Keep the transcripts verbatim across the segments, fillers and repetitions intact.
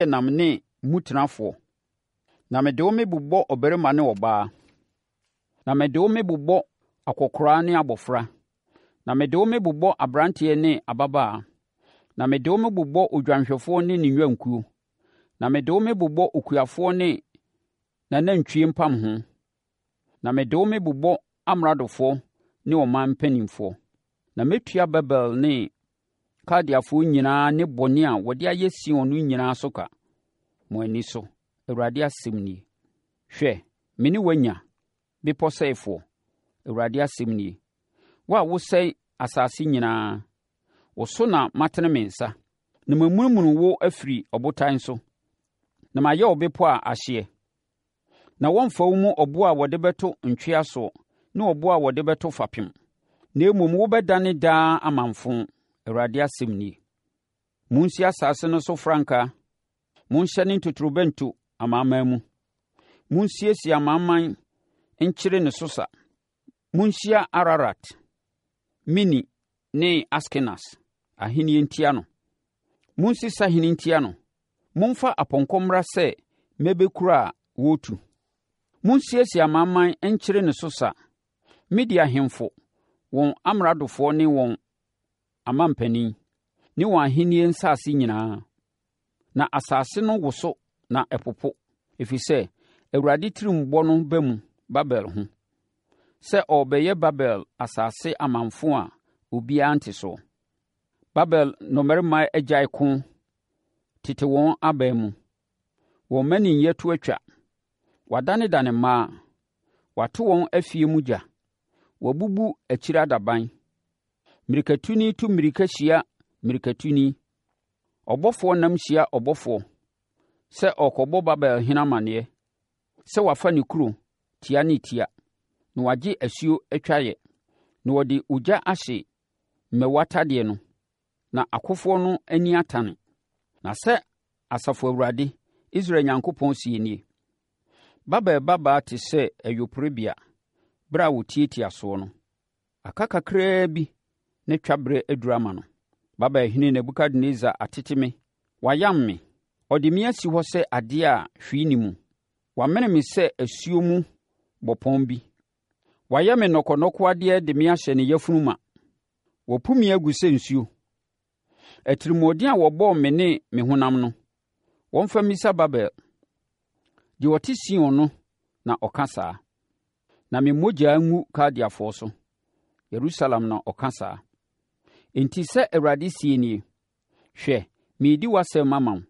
Teaseɛnam ne mutenafoɔ, na mede wo mebobɔ ɔbarima ne ɔbaa, na mede wo mebobɔ akɔkoraa ne abɔfra, na mede wo mebobɔ aberanteɛ ne ababaa, na mede wo mebobɔ odwanhwɛfoɔ ne ne nnwankuo, na mede wo mebobɔ okuafoɔ ne n'anantwie mpamho, na mede wo mebobɔ amradofoɔ ne ɔman mpanimfoɔ. Na mɛtua Babel ne Kaldeafoɔ nyinaa ne bɔne a wɔde ayɛ Sion no nyinaa so ka, mo ani so, Awurade asɛm nie. Hwɛ, me ne wo anya, bepɔ sɛefoɔ, Awurade asɛm nie. Wo a wosɛe asase nyinaa, wo so na matene me nsa, na mamunimuni wo afiri ɔbotan so, na mayɛ wo bepɔ a ahyeɛ. Na wɔremfa wo mu ɔboɔ a wɔde bɛto ntwea soɔ ne ɔboɔ a wɔde bɛto fapem, na mmom wobɛdane daa amamfo, Awurade asɛm nie. Monsi asase no so frankaa, monhyɛne ntotorobɛnto amanaman mu. Monsiesie amanaman nkyere ne so sa. Monhyia Ararat, Mini ne Askenas ahennie ntia no. Monsi sahene ntia no. Momfa apɔnkɔ mmra sɛ mmɛbɛkuro a wɔretu. Monsiesie amanaman nkyere ne so sa. Media ahemfo, wɔn amradofoɔ ne wɔn amanpanin, ne wɔn ahennie nsase nyinaa. Na asase no woso na ɛpopo, ɛfiri sɛ Awurade tirimbɔ no ba mu Babel ho, sɛ ɔrebɛyɛ Babel asase amamfo a obiara nte soɔ. Babel nnɔmmarima agyae ko tete wɔn aban mu. Wɔn mmaninyɛ to atwa. Wɔadanedane mmaa. Wɔato wɔn afie mu gya. Wɔabubu akyire adaban. Mmirikatuni tu mmirika hyia mmirikatuni. Ɔbɔfoɔ nam hyia ɔbɔfoɔ sɛ ɔrekɔbɔ Babel hene amanneɛ sɛ wafa ne kuro tia ne tia, na wagye asuo atwaeɛ, na wɔde ogya ahye mmɛwa tadeɛ no, na akofoɔ no ani atane. Na sɛ Asafo Awurade, Israel Nyankopɔn seɛ nie: Babel babaa te sɛ ayuporebea berɛ a wɔtiatia soɔ no. Aka kakraa bi na twaberɛ aduru ama no. Babelhene Nebukadnessar atete me, wayam me. Ɔde me asi hɔ sɛ adeɛ a hwee nni mu. Wamene me sɛ asuo mu bɔpɔn bi. Wayɛ me nnɔkɔnnɔkɔwadeɛ de me ahyɛ ne yafunu ma. Wapu me agu sɛ nsuo. Atirimuɔden a wɔbɔɔ me ne me honam no, wɔmfa mmisa Babel. Deɛ ɔte Sion no na ɔka saa. Na me mogya ngu Kaldeafoɔ so. Yerusalem na ɔka saa. Enti sɛ Awurade seɛ nie, Hwɛ, meredi w'asɛm mama wo,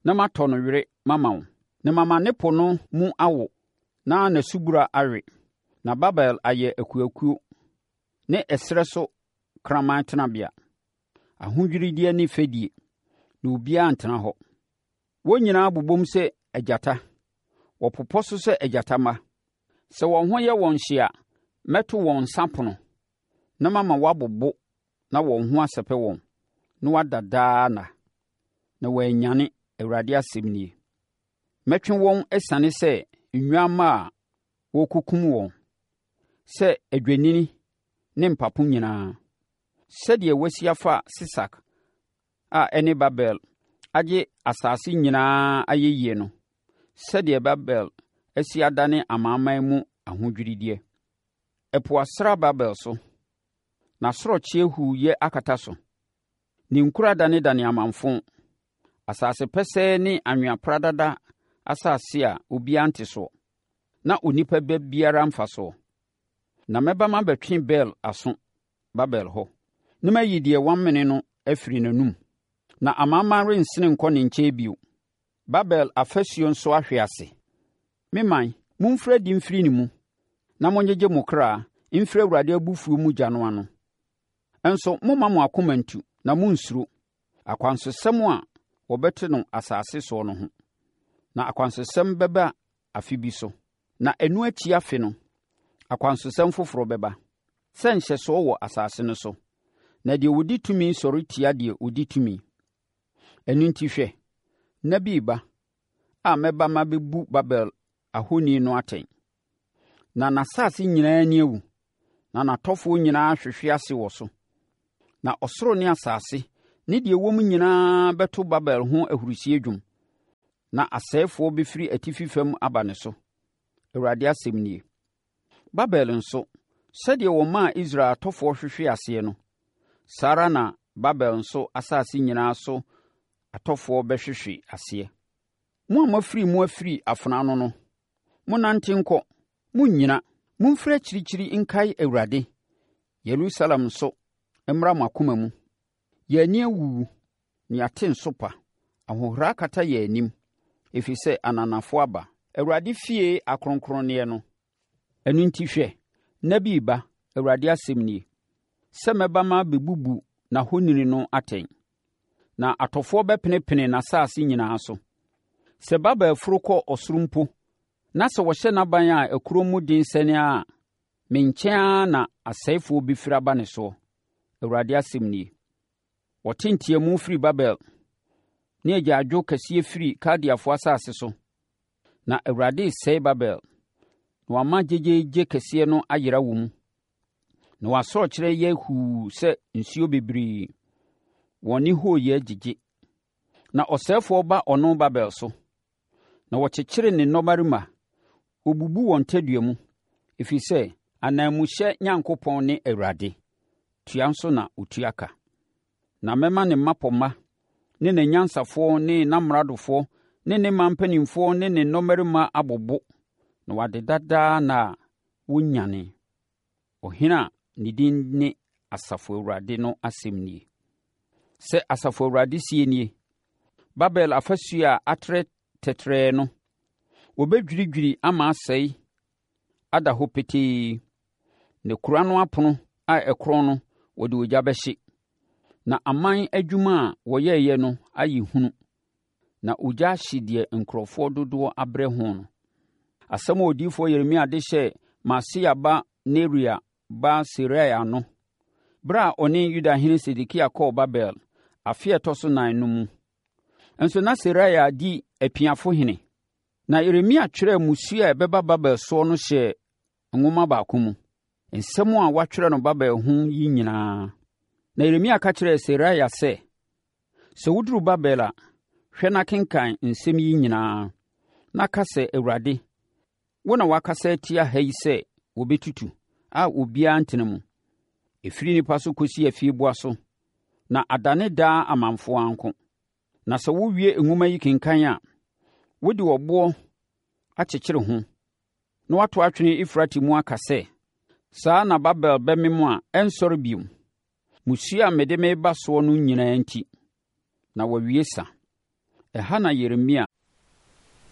na matɔ no were mama wo, na mama ne po no mu awo, na n'asubura awe, na Babel ayɛ akuakuo ne ɛserɛ so kraman tenabea, ahodwiredeɛ ne fɛdie, na obiara rentena hɔ. Wɔn nyinaa bobom sɛ agyata, wɔpopɔ so sɛ agyata mma. Sɛ wɔn ho yɛ wɔn hye a, mɛto wɔn nsapono na mama wɔabobo na wɔn ho asɛpɛ wɔn, na wɔada daa nna, na wɔannyane, Awurade asɛm nie. Mɛtwe wɔn asiane sɛ nnwammaa a wɔrekɔkum wɔn, sɛ adwennini ne mpapo nyinaa. Sɛdeɛ wɔasi afa Sesak a ɛne Babel agye asase nyinaa ayɛyie no, sɛdeɛ Babel asi adane amanaman mu ahodwiredeɛ. Ɛpo asra Babel so, n'asorɔkye huuyɛ akata so. Ne nkuro adanedane amamfo, asase pɛsɛɛ ne anwea pradada asase a obiara nte soɔ, na onipa ba biara mfa soɔ. Na mɛba mabɛtwe Bel aso Babel hɔ, na mayi deɛ wamene no afiri n'anom, na amanaman rensene nkɔ ne nkyɛn bio. Babel afasuo nso ahwe ase. Me man, momfiri adi mfiri ne mu, na monnyegye mo kra mfiri Awurade abufuo mu gya no ano. Nso mommma mo akoma nntu, na monnsuro akwansosɛm a wɔbɛto no asase soɔ no ho. Na akwansosɛm bɛba afe bi so, na ɛno akyi afe no, akwansosɛm foforɔ bɛba, sɛ nhyɛsoɔ wɔ asase no so, na deɛ ɔdi tumi sɔre tia deɛ ɔdi tumi. Ɛno enti hwɛ, nna bi reba a mɛba mabɛbu Babel ahoni no atɛn, na n'asase nyinaa ani awu, na n'atɔfoɔ nyinaa ahwehwe ase wɔ so. Na ɔsoro ne asase ne deɛ ɛwɔ mu nyinaa bɛto Babel ho ahurisie dwom. Na asɛefoɔ bɛfiri atifi fam aba ne so, Awurade asɛm nie. Babel nso, sɛdeɛ wɔmaa Israel atɔfoɔ hwehwee aseɛ no, saa ara na Babel nso asase nyinaa so atɔfoɔ bɛhwehwe aseɛ. Mo a moafiri mu afiri afena ano no, monnante nkɔ, monnnyina! Momfiri akyirikyiri nkae Awurade, Yerusalem nso mmra mo akoma mu. Yɛn ani awuwu, na yɛate nsopa, ahohora akata yɛn anim, ɛfiri sɛ ananafoɔ aba Awurade fie akronkronneɛ no. Ɛno enti hwɛ, nna bi reba, Awurade asɛm nie, sɛ mɛba mabɛbubu n'ahoni no atɛn, na atɔfoɔ bɛpenepene n'asase nyinaa so. Sɛ Babel foro kɔ ɔsoro mpo, na sɛ wɔhyɛ n'aban a ɛkorɔn mu den sɛn ara a, me nkyɛn ara na asɛefoɔ bɛfiri aba ne soɔ, Awurade asɛm nie. Wɔte nteamu firi Babel, ne agyaadwo kɛseɛ firi Kaldeafoɔ asase so. Na Awurade resɛe Babel, na wama gyegyeegye kɛseɛ no ayera wɔ mu. Na wɔn asorɔkyeɛ yɛ huu sɛ nsuo bebree, wɔn nne hooyɛ gyegye. Na ɔsɛefoɔ ba ɔno Babel so, na wɔkyekyere ne nnɔmmarima, wɔbubu wɔn tadua mu, ɛfiri sɛ ananmuhyɛ Nyankopɔn ne Awurade, tua nso na ɔtua ka. Na mɛma ne mmapɔmma ne n'anyansafoɔ ne n'amradofoɔ ne ne man mpanimfoɔ ne ne nnɔmmarima abobo na wɔadeda daa nna a wɔnnyane. Ɔhene a ne din ne Asafo Awurade no asɛm nie. Sɛ Asafo Awurade seɛ nie, Babel afasuo a atrɛ tɛtrɛɛ no, wɔbɛdwiridwiri ama asɛe ada hɔ petee, na kuro ano apono a ɛkorɔn no, wɔde ogya bɛhye. Na aman adwuma a wɔyɛeɛ no ayɛ hunu, na ogya ahye deɛ nkurɔfoɔ dodoɔ abrɛ ho no. Asɛm a odiyifoɔ Yeremia de hyɛɛ Maaseia ba Neria ba Seraia no, berɛ a ɔne Yudahene Sedekia kɔɔ Babel, afe a ɛtɔ so nan no mu. Nso na Seraia di apiafohene. Na Yeremia twerɛɛ mmusuo a ɛbɛba Babel soɔ no hyɛɛ nwoma baako mu, nsɛm a wɔatwerɛ no Babel ho yi nyinaa. Na Yeremia ka kyerɛɛ Seraia sɛ, Sɛ woduru Babel a, hwɛ na kenkan nsɛm yi nyinaa, na ka sɛ Awurade, wo na woakasa atia ha yi sɛ wɔbɛtutu, a obiara ntena mu, ɛfiri nnipa so kɔsi afieboa so, na adane daa amamfo ara nko. Na sɛ wowie nwoma yi kenkan a, wode ɔboɔ akyekyere ho, na woato atwene Eufrate mu aka sɛ, 'Saa na Babel bɛmem a ɛrensɔre bio, mmusuo a mede mereba soɔ no nyinaa enti, na wɔawie sa. Ɛha na Yeremia